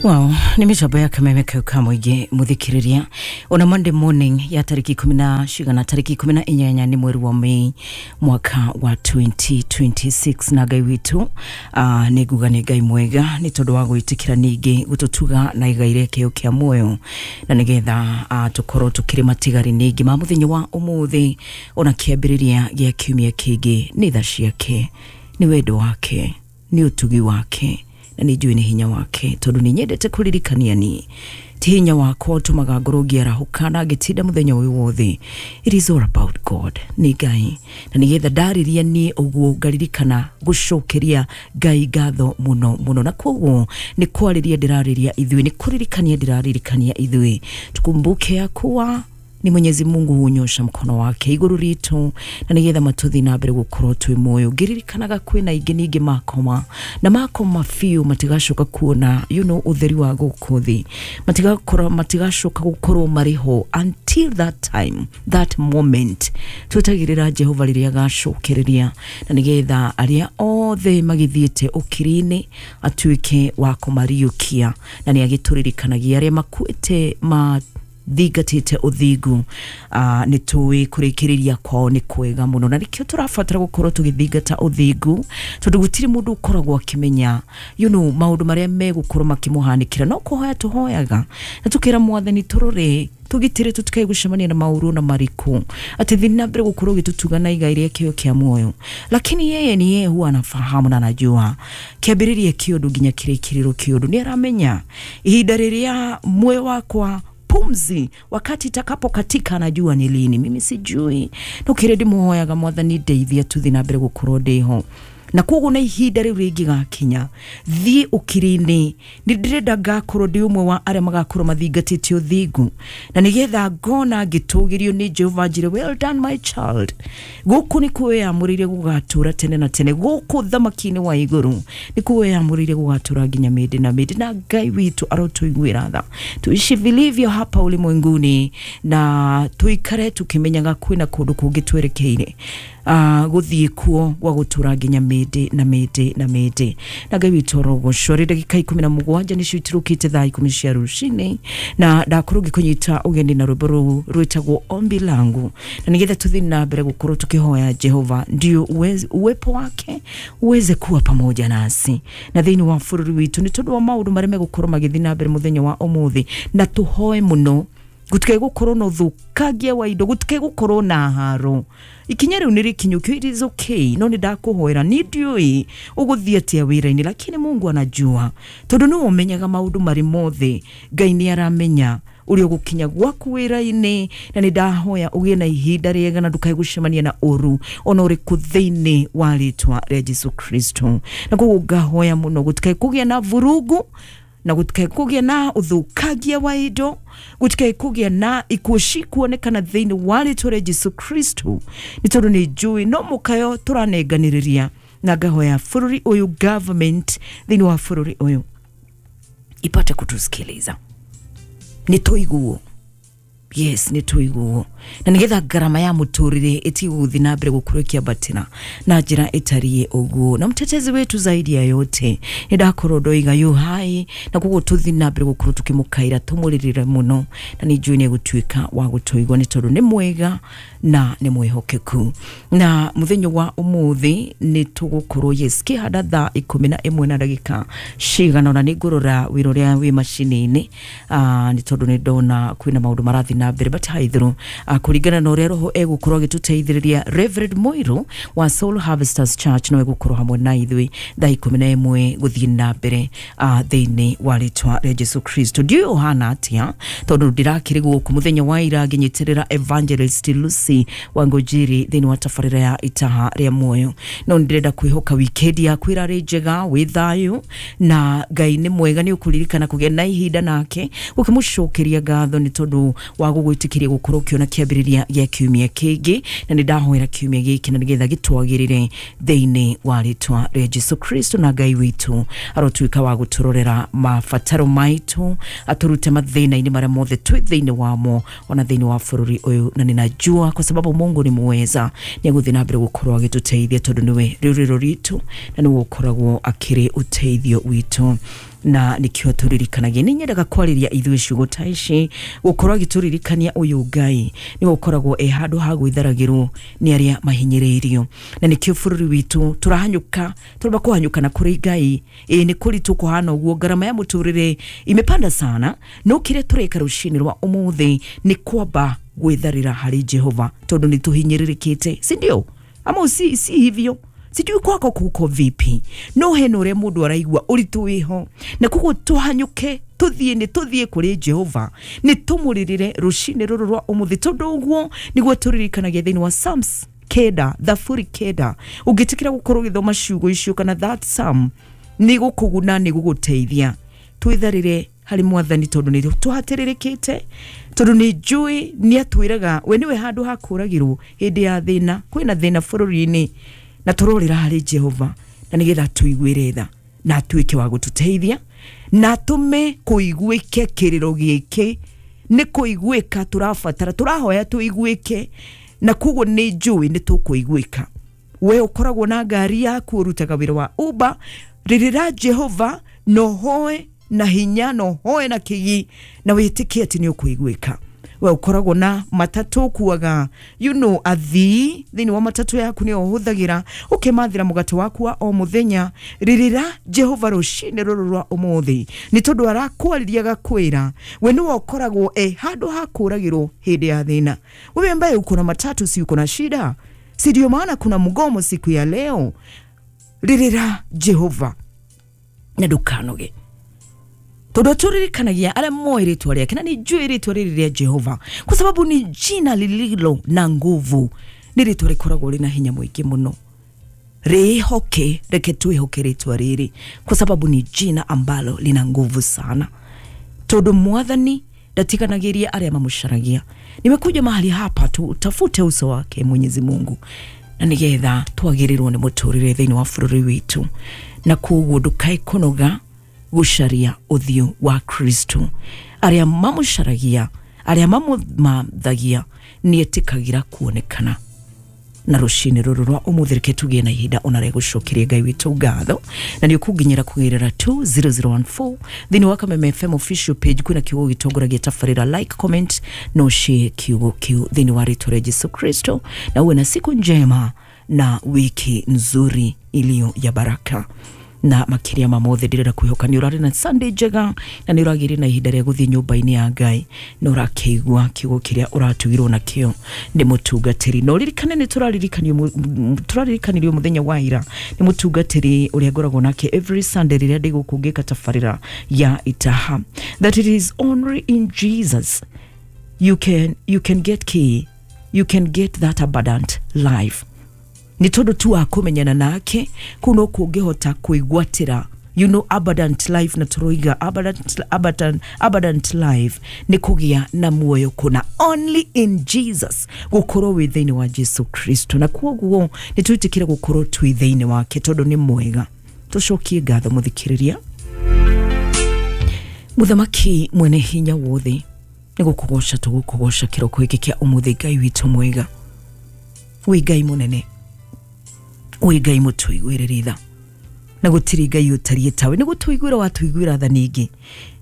Wow, nĩ mĩtambo ya kameme kau ka mũingĩ mũthikĩrĩria ona Monday morning ya tarĩki ikũmi na cigana, tarĩki 18 nĩ mweri wa Mei mwaka wa 2026. Na Ngai witũ, nĩ nguga nĩ Ngai mwega nĩ tondũ wa gwĩtĩkĩra ningĩ gũtũtuga na igai rĩa kĩo kĩa muoyo, na nĩgetha tũkorwo tũkĩrĩ matigari ningĩ ma mũthenya wa ũmũthĩ ona kĩambĩrĩria gĩa kiumia kĩngĩ. Nĩ tha ciake, nĩ wendo wake, nĩ ũtugi wake, na nĩ njũĩ nĩ hinya wake, tondũ nĩ nyendete kũririkania ni ti hinya wakwa ũtũmaga ngorwo ngĩarahũka na ngĩtinda mũthenya ũyũ wothe. It is all about God, nĩ Ngai, na nĩgetha ndarĩria niĩ ũguo ngaririkana gũcokeria Ngai ngatho mũno mũno. Na koguo nĩ kwarĩria ndĩrarĩria ithuĩ, nĩ kũririkania ndĩraririkania ithuĩ, tukumbuke ya kuwa ni Mwenyezi Mungu hunyosha mkono wake igũrũ ritũ na nĩgetha matũthi na mbere gũkorwo twĩ muoyo. Ngĩririkanaga kwĩna ingĩ ningĩ makoma na makoma biũ, matigacoka kuona ũtheri wa gũkũ thĩ, matigakorwo, matigacoka gũkorwo marĩ ho. Until that time, that moment, twetagĩrĩra Jehova rĩrĩa agacokereria na nĩgetha arĩa othe magĩthiĩte ũkiri-inĩ atuĩke wa kũmariũkia. Na nĩ agĩtũririkanagia arĩa makuĩte ma thingatĩte ũthingu, nĩ tũĩ kũrĩkĩrĩria kwao nĩ kwega mũno, na nĩkĩo tũrabatara gũkorwo tũgĩthingata ũthingu, tondũ gũtirĩ mũndũ ũkoragwo akĩmenya maũndũ marĩa megũkorwo makĩmũhanĩkĩra. No kũhoya tũhoyaga na tũkĩra Mwathani tũrore, tũgitĩre, tũtikae gũcemania na maũru na marĩkũ, atĩ thiĩ na mbere gũkorwo ũgĩtũtuga na igai rĩa kĩo kĩa muoyo. Lakini yeye ni yeye huwa anafahamu na anajua kĩambĩrĩria kĩũndũ nginya kĩrĩkĩrĩro kĩũndũ. Nĩ aramenya ihinda rĩrĩa muoyo wakwa, pumzi wakati itakapokatika, anajua ni lini, mimi sijui. No kĩrĩa ndĩmũhoyaga, Mwathani ndeithia tuthi na mbere gũkorwo ndĩho, na koguo na ihinda rĩu rĩngĩgakinya thiĩ ũkiri-inĩ, nĩ ndĩrenda ngakorwo ndĩ ũmwe wa arĩa magakorwo mathingatĩte ũthingu, na nĩgetha ngona ngĩtũgĩrio nĩ Jehova, njĩre, "Well done, my child." Gũkũ nĩ kwĩyamũrĩire gũgatũra tene na tene, gũkũ thamaki-inĩ wa igũrũ nĩ kwĩyamũrĩire gũgatũra nginya mĩndĩ na mĩndĩ. Na Ngai witũ arotũiguĩra tha, tuishi vilivyo hapa ulimwenguni na tuikare tukimenyaga kwĩna kũndũ kũngĩ twerekeire gũthiĩ kuo gwa gũtũra nginya mĩndĩ na mĩndĩ na mĩndĩ. Na Ngai witũ arogocwo. Rĩ ndagĩka 17 nĩcio itirũkĩte thaa 10 cia rũcinĩ, na ndakorwo ngĩkũnyita ũgeni na rwĩmbo rũu rwĩtagwo Ombi Langu, na nĩgetha tũthiĩ na mbere gũkorwo tũkĩhoya Jehova ndio uwepo wake uweze kuwa pamoja nasi na thĩinĩ wa bũrũri witũ, nĩ tondũ wa maũndũ marĩa megũkorwo magĩthiĩ na mbere mũthenya wa ũmũthĩ. Na tũhoe mũno gũtikae gũkorwo na ũthũkangia wa indo, gũtikae gũkorwo na haro. Ikinya rĩu nĩ rĩkinyũkio, it is okay. No nĩ ndakũhoera, ni ndiũĩ ũgũthiĩ atĩa wĩra-inĩ, lakini Mungu anajua, tondũ nĩwe ũmenyaga maũndũ marĩ mothe. Ngai nĩ aramenya ũrĩa ũgũkinya gwaku wĩra-inĩ, na nĩ ndahoya ũgĩe na ihinda rĩega na ndũkae gũcemania na ũru ona ũrĩkũ thĩinĩ wa rĩtwa rĩa Jesu Kristo. Na koguo ngahoya mũno gũtikae kũgĩa na vurugu, na gũtikae kũgĩa na ũthũkangia wa indo, gũtikae kũgĩa na ikuũ cikuonekana thĩinĩ wa rĩtwa rĩa Jesu Kristo, nĩ tondũ nĩ njũĩ no mũkayo tũranenganĩrĩria. Na ngahoya bũrũri ũyũ, government thĩinĩ wa bũrũri ũyũ ipate kutusikiliza, nĩ tũiguo. Yes, nĩ tũiguo, na nĩgetha ngarama ya mũtũrĩre ĩtige gũthiĩ na mbere gũkorwo ĩkĩambatĩra na njĩra ĩtariĩ ũguo. Na mtetezi wetu zaidi ya yote nĩ ndakorwo ndoiga yu hai, na koguo tũthiĩ na mbere gũkorwo tũkĩmũkaĩra, tũmũrĩrĩre mũno, na nĩ njũĩ nĩ egũtuĩka wa gũtũigua, nĩ tondũ nĩ mwega na nĩ mwĩhokeku. Na mũthenya wa ũmũthĩ nĩ tũgũkorwo, yes, kĩhanda thaa 11 na ndagĩka cigana ona. Nĩ ngũrora wĩra ũrĩa wĩ macini-inĩ, nĩ tondũ nĩ ndona kwĩna maũndũ marathiĩ na mbere, but haithũrũ kũringana na ũrĩa roho egũkorwo agĩtũteithĩrĩria, Reverend Moiro wa Soul Harvesters Church no egũkorwo hamwe na ithuĩ thaa 11 gũthiĩ na mbere, thĩinĩ wa rĩtwa rĩa Jesu Kristo. Ndiũĩ ũhana atĩa, tondũ ndĩrakĩrĩ gũkũ mũthenya wa ira ngĩnyitĩrĩra Evangelist Lucy Wangũnjiri thĩinĩ wa tabarĩra ya Itaha rĩa Muoyo. No nĩ ndĩrenda kwĩhoka weekend yaku ĩrarĩ njega, wĩ thayũ, na Ngai nĩ mwega. Nĩ ũkũririkana kũgĩa na ihinda nake ũkĩmũcokeria ngatho nĩ tondũ wa gũgwĩtĩkĩria gũkorwo ũkĩona kĩambĩrĩria gĩa kiumia kĩngĩ. Na nĩ ndahoera kiumia gĩkĩ na nĩgetha gĩtwagĩrĩre thĩinĩ wa rĩtwa rĩa Jesu Kristo. Na Ngai witũ arotuĩka wa gũtũrorera mabataro maitũ, atũrute mathĩna-inĩ marĩa mothe twĩ thĩinĩ wamo ona thĩinĩ wa bũrũri ũyũ. Na ninajua kwa sababu Mungu ni muweza, nĩ egũthiĩ na mbere gũkorwo agĩtũteithia, tondũ nĩwe rĩũrĩro ritũ na nĩwe ũkoragwo akĩrĩ ũteithio witũ. Na nikio turirikanagia nĩ nyendaga kwarĩria ithuĩ ciugo ta ici gũkorwo agĩtũririkania ũyũ Ngai nĩwe ũkoragwo e handũ ha gwĩtharagĩrwo nĩ arĩa mahinyĩrĩirio. Na nĩkĩo bũrũri witũ tũrahanyũka, tũramba kũhanyũka na kũrĩ Ngai. Ĩĩ nĩ kũritũ kũhana ũguo, ngarama ya mũtũrĩre imepanda sana, no kĩrĩa tũreka rũcinĩ rwa ũmũthĩ nĩ kwamba gwĩtharĩra harĩ Jehova tondũ nĩ tũhinyĩrĩrĩkĩte, si ndio? Ama si hivyo? Sijui kwako kuko vipi, no hena ũrĩa mũndũ araigua ũritũ wĩho, na koguo tũhanyũke tũthiĩ, nĩ tũthiĩ kũrĩ Jehova, nĩ tũmũrĩrĩre rũcinĩ rũrũ rwa ũmũthĩ, tondũ ũguo nĩguo tũririkanagia thĩinĩ wa Psalms 9, Thaburi 9. Ũngĩtĩkĩra gũkorwo ũgĩthoma ciugo icio kana that psalm, nĩ gũkũguna, nĩ gũgũteithia. Twĩtharĩre harĩ Mwathani tondũ nĩ tũhatĩrĩrĩkĩte, tondũ nĩ njũĩ nĩ atwĩraga we nĩwe handũ ha kũragĩrwo hĩndĩ ya thĩna. Kwĩna thĩna bũrũri-inĩ na tũrorĩra harĩ Jehova na nĩgetha tũiguĩre tha na atuĩke wa gũtũteithia na atũme kũiguĩke kĩrĩro gĩkĩ nĩ kũiguĩka tũrabatara, tũrahoya tũiguĩke, na koguo nĩ njũĩ nĩ tũkũiguĩka. We ũkoragwo na ngari yaku, ũrutaga wĩra wa Uber, rĩrĩra Jehova na ũhoe na hinya na ũhoe na kĩgi na wĩtĩkie atĩ nĩ ũkũiguĩka. We ũkoragwo na matatũ, ũkuaga athii thĩinĩ wa matatũ yaku nĩyo ũhũthagĩra ũkĩmathĩra mũgate waku wa o mũthenya, rĩrĩra Jehova rũcinĩ rũrũ rwa ũmũthĩ, nĩ tondũ arakwarĩria agakwĩra we nĩwe ũkoragwo e handũ ha kũragĩrwo hĩndĩ ya thĩna. Wewe ambaye uko na matatu, si uko na shida? Si ndio maana kuna mgomo siku ya leo? Rĩrĩra Jehova na ndũkanoge, tondũ tũririkanagia arĩa moĩ rĩtwa rĩake, na nĩ njũĩ rĩtwa rĩrĩ rĩa Jehova kwa sababu ni jina lililo na nguvu, nĩ rĩtwa rĩkoragwo rĩna hinya mũingĩ mũno. Rĩhoke, reke twĩhoke rĩtwa rĩrĩ kwa sababu ni jina ambalo lina nguvu sana, tondũ Mwathani ndatiganagĩria arĩa mamũcaragia. Nimekuja mahali hapa tutafute uso wake Mwenyezi Mungu na nĩgetha twagĩrĩrwo nĩ mũtũrĩre thĩinĩ wa bũrũri witũ, na koguo ndũkae kũnoga gũcaria ũthiũ wa Kristo. Arĩa mamũcaragia, arĩa mamũmathagia nĩ etĩkagĩra kuonekana. Na rũcinĩ rũrũ rwa ũmũthĩ reke tũgĩe na ihinda ona rĩa gũcokeria Ngai witũ ngatho, na nĩ ũkũnginyĩra kũgerera 20014 thĩinĩ wa Kameme FM official page. Kwĩna kiugo gĩtongoragia tabarĩra, like, comment na ũshare kiugo kiu thĩinĩ wa rĩtwa rĩa Jesu Kristo, na uwe na siku njema na wiki nzuri iliyo ya baraka. Na makiria ma mothe ndĩrenda kwĩhoka nĩ ũrarĩ na Sunday njega na nĩ ũragĩire na ihinda rĩa gũthiĩ nyũmba-inĩ ya Ngai na ũrakĩigua kiugo kĩrĩa ũratugirwo nakĩo nĩ mũtungatĩri. Na ũririkane nĩ tũraririkanĩrio mũthenya wa ira nĩ mũtungatĩri ũrĩa ngoragwo nake every Sunday rĩrĩa ndĩ gũkũ ngĩka tabarĩra ya Itaha, that it is only in Jesus you can get key, you can get that abundant life. Nĩ tondũ tu wa kũmenyana nake kũu no kũngĩhota kwĩgwatĩra abundant life. Na tũroiga abundant life nĩ kũgĩa na muoyo kũna, only in Jesus, gũkorwo wĩ thĩinĩ wa Jesu Kristo. Na koguo nĩ twĩtĩkĩre gũkorwo twĩ thĩinĩ wake tondũ nĩ mwega. Tũcokie ngatho mũthikĩrĩria. Mũthamaki mwene hinya wothe, nĩ gũkũgoca tũgũkũgoca kĩroko gĩkĩ kĩa ũmũthĩ. Ngai witũ mwega, wĩ Ngai mũnene, wĩ Ngai mũtũiguĩrĩri tha, na gũtirĩ Ngai ũtariĩ tawe. Nĩ gũtũiguĩra watũiguĩra tha ningĩ,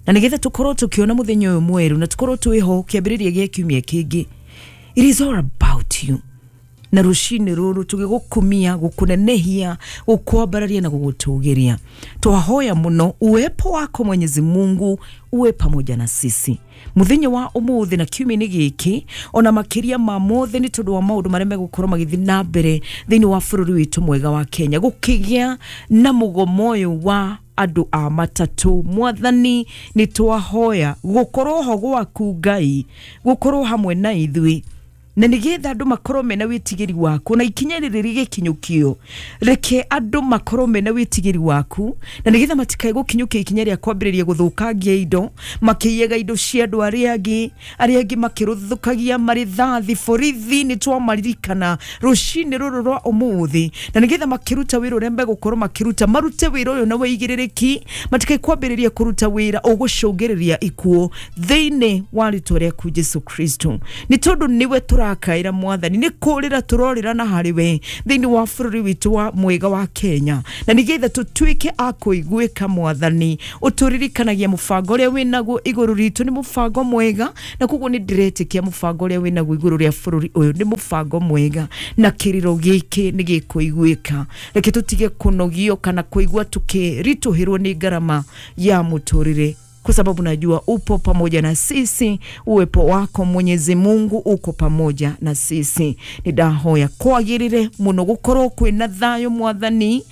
na nĩgetha tũkorwo tũkĩona mũthenya ũyũ mwerũ na tũkorwo twĩho kĩambĩrĩria gĩa kiumia kĩngĩ. It is all about you. Na rũcinĩ rũrũ tũgĩgũkumia, gũkũnenehia, gũkwambararia na gũgũtũgĩria, twahoya mũno uwepo wako Mwenyezi Mungu uwe pamoja na sisi muthenya wa umuthi na kiumia-inĩ gĩkĩ, ona makĩria ma mothe nĩ tondũ wa maũndũ marĩa megũkorwo magĩthiĩ na mbere thĩinĩ wa bũrũri witũ mwega wa Kenya, gũkĩgĩa na mũgomo ũyũ wa andũ a matatũ. Mwathani nĩ twahoya gũkorwo ho gwaku Ngai, gũkorwo hamwe na ithuĩ, na nĩgetha andũ makorwo mena wĩtigĩri waku, na ikinya rĩrĩ rĩgĩkinyũkio, reke andũ makorwo mena wĩtigĩri waku, na nĩgetha matikae gũkinyũkia ikinya rĩa kwambĩrĩria gũthũkangia indo, makĩiyaga indo cia andũ arĩa angĩ makĩrũthũkagia marĩthathi borithi. Nĩ twamaririkana rũcinĩ rũrũ rwa ũmũthĩ, na nĩgetha makĩruta wĩra ũrĩa megũkorwo makĩruta, marute wĩra ũyũ na wĩigĩrĩrĩki, matikae kwambĩrĩria kũruta wĩra ũgũcũngĩrĩria ikuũ thĩinĩ wa rĩtwa rĩaku Jesu Kristo, nĩ tondũ nĩwe Tũrakaĩra Mwathani, nĩ kũrĩra tũrorĩra na harĩ we thĩinĩ wa bũrũri witũ wa mwega wa Kenya, na nĩgetha tũtuĩke a kũiguĩka. Mwathani, ũtũririkanagia mũbango ũrĩa wĩnaguo igũrũ ritũ nĩ mũbango mwega, na koguo nĩ ndĩretĩkia mũbango ũrĩa wĩnaguo igũrũ rĩa bũrũri ũyũ nĩ mũbango mwega, na kĩrĩro gĩkĩ nĩ gĩkũiguĩka. Reke tũtige kũnogio kana kũigua tũkĩritũhĩrwo nĩ ngarama ya mũtũrĩre, kwa sababu najua upo pamoja na sisi. Uwepo wako Mwenyezi Mungu uko pamoja na sisi. Nĩ ndahoya kwagĩrĩre mũno gũkorwo kwĩna thayũ, Mwathani,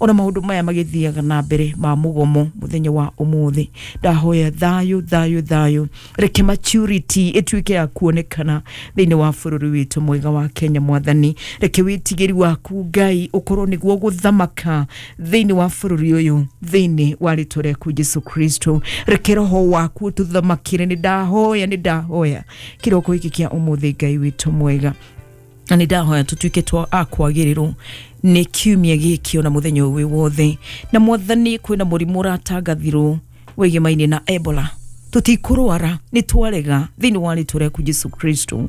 ona maũndũ maya magĩthiaga na mbere ma mũgomo mũthenya wa ũmũthĩ. Ndahoya thayũ, thayũ, thayũ. Reke maturity ĩtuĩke ya kuonekana thĩinĩ wa bũrũri witũ mwega wa Kenya. Mwathani, reke wĩtigĩri waku Ngai ũkorwo nĩguo gũthamaka thĩinĩ wa bũrũri ũyũ, thĩinĩ wa rĩtwa rĩaku Jesu Kristo. Reke roho waku ũtũthamakĩre. Nĩ ndahoya, nĩ ndahoya kĩroko gĩkĩ kĩa ũmũthĩ, Ngai witũ mwega, na nĩ ndahoya tũtuĩke twa a kwagĩrĩrwo nĩ kiumia gĩkĩ ona mũthenya ũyũ wĩ wothe. Na Mwathani, kwĩna mũrimũ ũratangathirwo wĩgemaine na Ebola. Tũtikũrwara, nĩ twarega thĩinĩ wa rĩtwa rĩaku Jesu Kristo.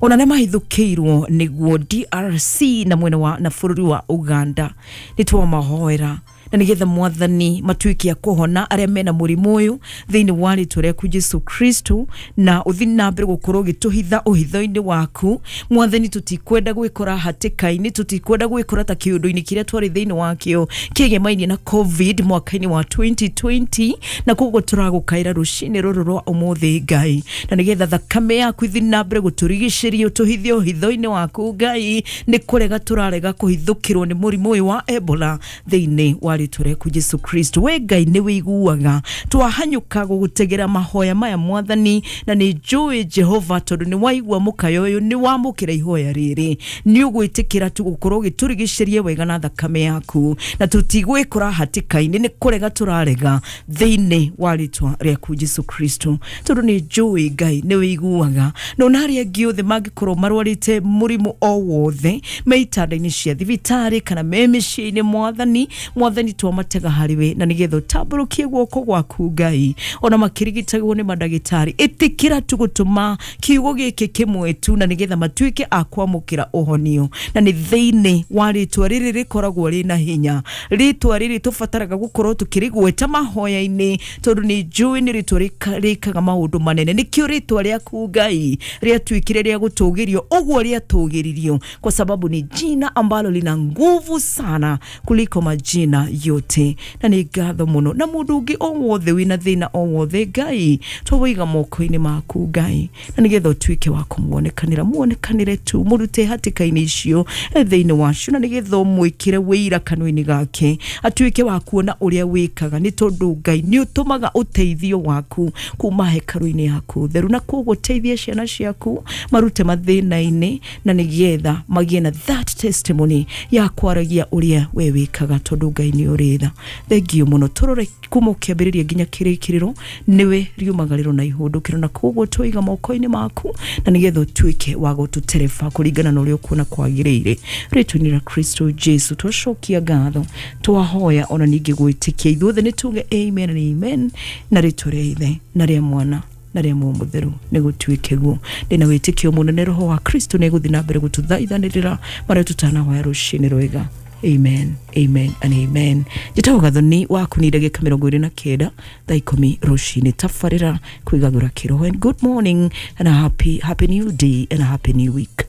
Ona nĩ mahithũkĩirwo nĩguo DRC na mwena wa na bũrũri wa Uganda, nĩ twamahoera na nigetha Mwathani matuĩke a kũhona arĩa mena mũrimũ ũyũ thĩinĩ wa rĩtwa rĩaku Jesu Kristo, na ũthiĩ na mbere gũkorwo ũgĩtũhitha ũhitho-inĩ waku. Mwathani, tũtikwenda gwĩkora hatĩka-inĩ, tũtikwenda gwĩkora ta kĩũndũ-inĩ kĩrĩa twarĩ thĩinĩ wakĩo kĩgemaine na COVID mwaka-inĩ wa 2020. Na koguo tũragũkaĩra rũcinĩ rũrũ rwa ũmũthĩ, Ngai, na nigetha thakame yaku ithiĩ na mbere gũtũrigicĩria, ũtũhithe ũhitho-inĩ waku, Ngai. Nĩ kũrega tũrarega kũhithũkĩrwo nĩ mũrimũ ũyũ wa Ebola thĩinĩ wa rĩtwa rĩaku Jesu Kristo. We Ngai nĩ wĩiguaga twahanyũka gũgũtegera mahoya maya, Mwathani, na nĩ njũĩ Jehova, tondũ nĩ waigua mũkayo ũyũ, nĩ wamũkĩra ihoya rĩrĩ, nĩ ũgwĩtĩkĩra tu gũkorwo ũgĩtũrigicĩria wega na thakame yaku, na tũtigwĩkora hatĩka-inĩ. Nĩ kũrega tũrarega thĩinĩ wa rĩtwa rĩaku Jesu Kristo, tondũ nĩ njũĩ Ngai nĩ wĩiguaga. Na ona arĩa angĩ othe mangĩkorwo marwarĩte mũrimũ o wothe me itanda-inĩ cia thibitarĩ kana me mĩciĩ-inĩ, Mwathani, Mwathani, twamatega harĩ we na nĩgetha ũtambũrũkie guoko gwaku, Ngai, ona makĩrigitagwo nĩ mandagĩtarĩ. Ĩtĩkĩra tu gũtũma kiugo gĩkĩ kĩmwe tu na nĩgetha matuĩke a kwamũkĩra ũhonio, na nĩ thĩinĩ wa rĩtwa rĩrĩ rĩkoragwo rĩna hinya, rĩtwa rĩrĩ tũbataraga gũkorwo tũkĩrĩgweta mahoya-inĩ, tondũ nĩ njũĩ nĩ rĩtwa rĩkaga maũndũ manene. Nĩkĩo rĩtwa rĩaku, Ngai, rĩatuĩkire rĩa gũtũgĩrio ũguo rĩatũgĩririo, kwa sababu ni jina ambalo lina nguvu sana kuliko majina yote. Na nĩ ngatho mũno. Na mũndũ ũngĩ o wothe wĩna thĩna o wothe, Ngai, twawĩiga moko-inĩ maku, Ngai, na nĩgetha ũtuĩke wa kũmuonekanĩra, muonekanĩre tu, mũrute hatĩka-inĩ icio thĩinĩ wacio, na nĩgetha ũmwĩkĩre wĩira kanua-inĩ gake, atuĩke wa kuona ũrĩa wĩkaga, nĩ tondũ Ngai nĩ ũtũmaga ũteithio waku kuma hekarũ-inĩ yaku theru. Na koguo teithia ciana ciaku marute mathĩna-inĩ, na nĩgetha magĩe na that testimony ya kwaragia ũrĩa we wĩkaga, tondũ Ngai nĩ ũrĩ tha. Thengiũ mũno. Tũrore kuma ũkĩambĩrĩria nginya kĩrĩkĩrĩro, nĩwe riumagarĩro na ihũndũkĩro, na koguo twaiga moko-inĩ maku na nĩgetha ũtuĩke wa gũtũtereba kũringana na ũrĩa ũkuona kwagĩrĩire. Rĩtwa-inĩ rĩa Kristo Jesu twacokia ngatho, twahoya ona ningĩ gwĩtĩkia. Ithuothe nĩ tuge amen and amen. Na rĩtwa rĩa Ithe na rĩa Mwana na rĩa Muoyo Mũtheru nĩ gũtuĩke guo. Ndĩna wĩtĩkio mũnene roho wa Kristo nĩ egũthiĩ na mbere gũtũthaithanĩrĩra marĩa tũtanahoya. Rũcinĩ rwega. Amen, amen and amen. Njĩtagwo Gathoni waku nĩ ndagĩka 29 thaa 10 rũcinĩ. Tabarĩra kwĩgagũra kĩroho, and good morning and a happy, happy new day and a happy new week.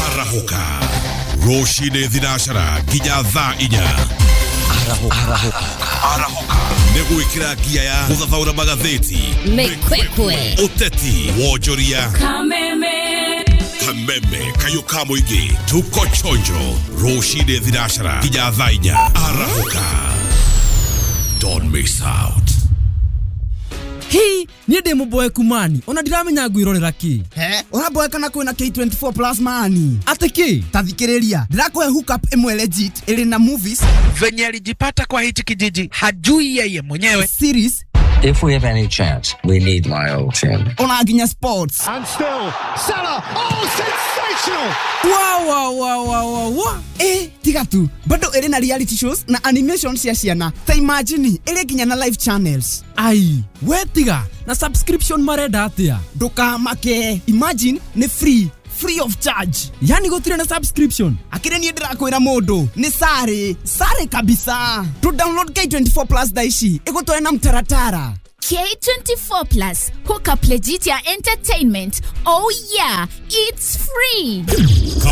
Arahũka rũcinĩ thinacara nginya thaa 4. Arahũka nĩ gwĩkĩra ngia ya gũthathaũra magathĩti, Mĩkwekwe, ũteti, wonjoria, kameme kayũ ka mũingĩ. Tuko chonjo rũcinĩ thinacara nginya thaa 4. Arahũka, don't miss out. Hi niĩ ndĩ mũboeku mani, ona ndiramenya ngwĩrorera kĩ. He ũramboeka na kwĩna K24 Plus mani. Atĩ kĩ? Ta thikĩrĩria, ndĩrakũhe hookup ĩmwe legit ĩrĩ na movies, Venye alijipata kwa hichi kijiji hajui yeye mwenyewe. Series. If we have any chance, we need my old team. Ona nginya sports. And still, Salah. Oh, sensational! Wa wa wa wa wa wa. Ĩ tiga tu, bado ĩrĩ na reality shows na animation cia ciana. Ta imagine ĩrĩ nginya na live channels. Ai, we tiga na subscription marenda atia? Ndũkamake, imagine nĩ free, free of charge. Yani gũtirĩ na subscription? Akĩrĩ niĩ ndĩrakwĩra mũndũ nĩ sare sare kabisa. To download K24 Plus thaa ici ĩgũtware na mtaratara. K24 Plus, hook up legit ya entertainment. Oh yeah, it's free. Come